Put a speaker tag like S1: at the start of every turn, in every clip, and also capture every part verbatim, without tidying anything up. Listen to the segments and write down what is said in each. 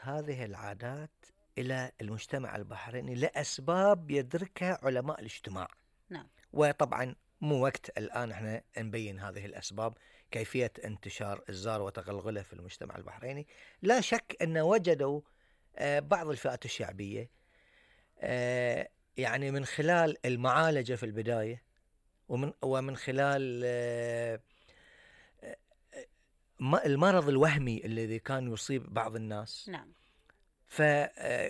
S1: هذه العادات إلى المجتمع البحريني لأسباب يدركها علماء الاجتماع.
S2: نعم.
S1: وطبعا مو وقت الآن احنا نبين هذه الأسباب، كيفية انتشار الزار وتغلغله في المجتمع البحريني. لا شك أن وجدوا بعض الفئات الشعبية يعني من خلال المعالجة في البداية ومن, ومن خلال المرض الوهمي الذي كان يصيب بعض الناس.
S2: نعم.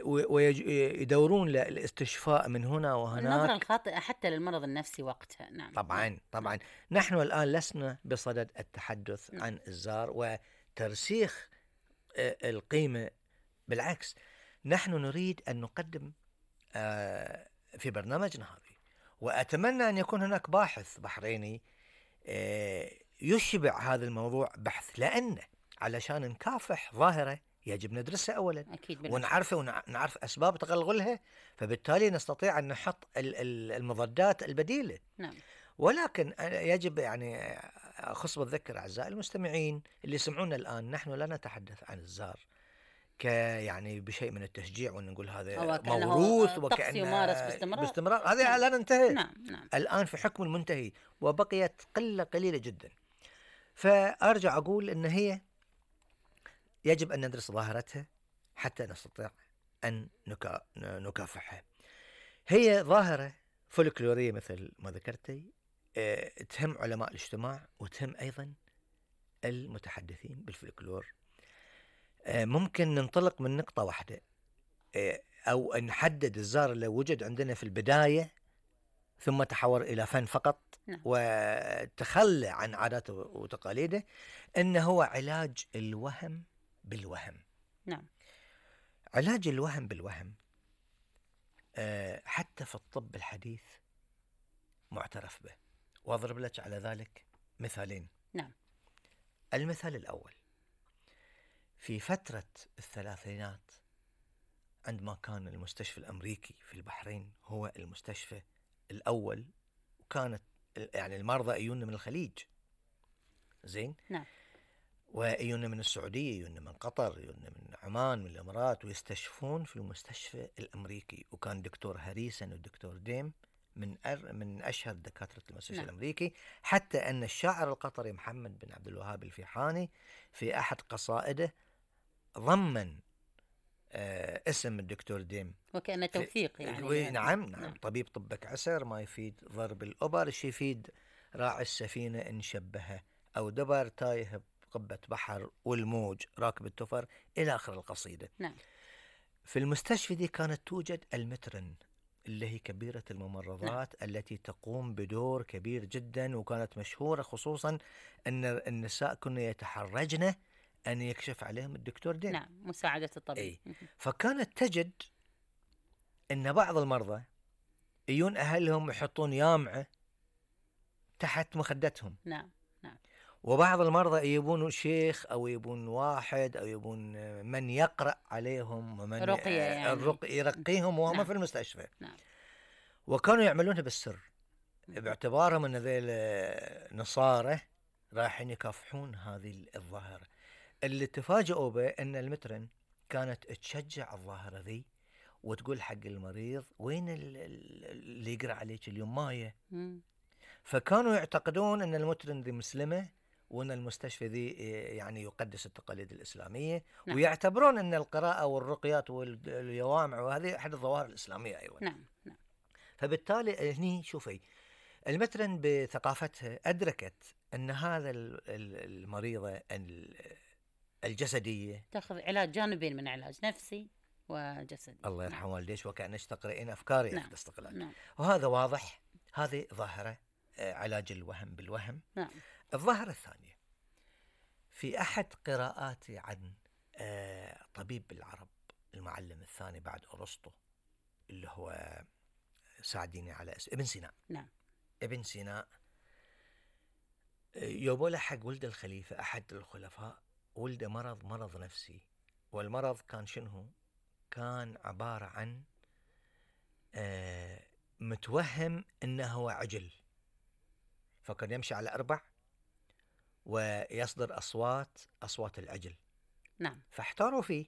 S1: ويدورون للاستشفاء من هنا وهناك.
S2: النظرة الخاطئة حتى للمرض النفسي وقتها. نعم.
S1: طبعا
S2: نعم.
S1: طبعا نحن الآن لسنا بصدد التحدث
S2: نعم.
S1: عن الزار وترسيخ القيمة، بالعكس نحن نريد أن نقدم في برنامجنا هذه، وأتمنى أن يكون هناك باحث بحريني يشبع هذا الموضوع بحث، لأن علشان نكافح ظاهرة يجب ندرسها أولا.
S2: أكيد
S1: ونعرفها ونعرف أسباب تغلغلها، فبالتالي نستطيع أن نحط المضادات البديلة.
S2: نعم.
S1: ولكن يجب يعني خص بالذكر أعزائي المستمعين اللي يسمعونا الآن، نحن لا نتحدث عن الزار ك يعني بشيء من التشجيع وان نقول هذا موروث
S2: وكأنه يمارس باستمرار
S1: باستمرار هذا نعم. لا ننتهي.
S2: نعم. نعم.
S1: الآن في حكم المنتهي وبقيت قلة قليلة جدا. فأرجع أقول أن هي يجب أن ندرس ظاهرتها حتى نستطيع أن نكا... نكافحها. هي ظاهرة فولكلورية مثل ما ذكرتي، اه تهم علماء الاجتماع وتهم أيضا المتحدثين بالفولكلور. اه ممكن ننطلق من نقطة واحدة، اه أو نحدد الزار اللي وجد عندنا في البداية ثم تحول إلى فن فقط.
S2: نعم.
S1: وتخلى عن عاداته وتقاليده، إنه هو علاج الوهم بالوهم.
S2: نعم.
S1: علاج الوهم بالوهم أه حتى في الطب الحديث معترف به، وأضرب لك على ذلك مثالين.
S2: نعم.
S1: المثال الأول في فترة الثلاثينات، عندما كان المستشفى الأمريكي في البحرين هو المستشفى الأول، وكانت يعني المرضى يجون من الخليج زين.
S2: نعم.
S1: ويجون من السعودية، يجون من قطر، يجون من عمان، من الإمارات، ويستشفون في المستشفى الأمريكي. وكان دكتور هريسن والدكتور ديم من أر من أشهر دكاترة المستشفى. نعم. الأمريكي، حتى أن الشاعر القطري محمد بن عبد الوهاب الفيحاني في أحد قصائده ضمن آه اسم الدكتور ديم
S2: وكأنه توثيق يعني.
S1: نعم نعم. نعم. طبيب طبك عسر ما يفيد ضرب الأبر، شي يفيد راعي السفينة إن شبهه، أو دبر تايه بقبة بحر والموج راكب التفر، إلى آخر القصيدة.
S2: نعم.
S1: في المستشفى دي كانت توجد المترن اللي هي كبيرة الممرضات. نعم. التي تقوم بدور كبير جدا، وكانت مشهورة خصوصا أن النساء كنا يتحرجن أن يكشف عليهم الدكتور دين.
S2: نعم. مساعدة الطبيب.
S1: أي. فكانت تجد أن بعض المرضى يجون أهلهم يحطون يامعة تحت مخدتهم.
S2: نعم. نعم.
S1: وبعض المرضى يبون شيخ أو يبون واحد أو يبون من يقرأ عليهم ومن
S2: رقية يعني.
S1: الرقي يرقيهم وهم. نعم. في المستشفى.
S2: نعم.
S1: وكانوا يعملونها بالسر باعتبارهم أن ذيل نصارى رايحين يكافحون هذه الظاهرة. اللي تفاجئوا به أن المترن كانت تشجع الظاهرة ذي وتقول حق المريض وين اللي يقرأ عليك اليوم مايه. فكانوا يعتقدون أن المترن ذي مسلمة، وأن المستشفى ذي يعني يقدس التقاليد الإسلامية. نعم. ويعتبرون أن القراءة والرقيات واليوامع وهذه أحد الظواهر الإسلامية أيضا.
S2: نعم. نعم.
S1: فبالتالي هني شوفي المترن بثقافتها أدركت أن هذا المريضة الجسدية
S2: تأخذ علاج جانبين من علاج نفسي وجسدي.
S1: الله يرحم والديش، وكأنش تقرأين أفكاري.
S2: نعم.
S1: استقلال.
S2: نعم.
S1: وهذا واضح، هذه ظاهرة علاج الوهم بالوهم.
S2: نعم.
S1: الظاهرة الثانية في أحد قراءاتي عن طبيب العرب المعلم الثاني بعد أرسطو اللي هو ساعديني على اسم ابن سينا.
S2: نعم.
S1: ابن سينا يبوله حق ولد الخليفة أحد الخلفاء، ولد مرض مرض نفسي. والمرض كان شنو؟ كان عبارة عن متوهم أنه هو عجل، فكان يمشي على أربع ويصدر أصوات أصوات العجل.
S2: نعم.
S1: فاحتاروا فيه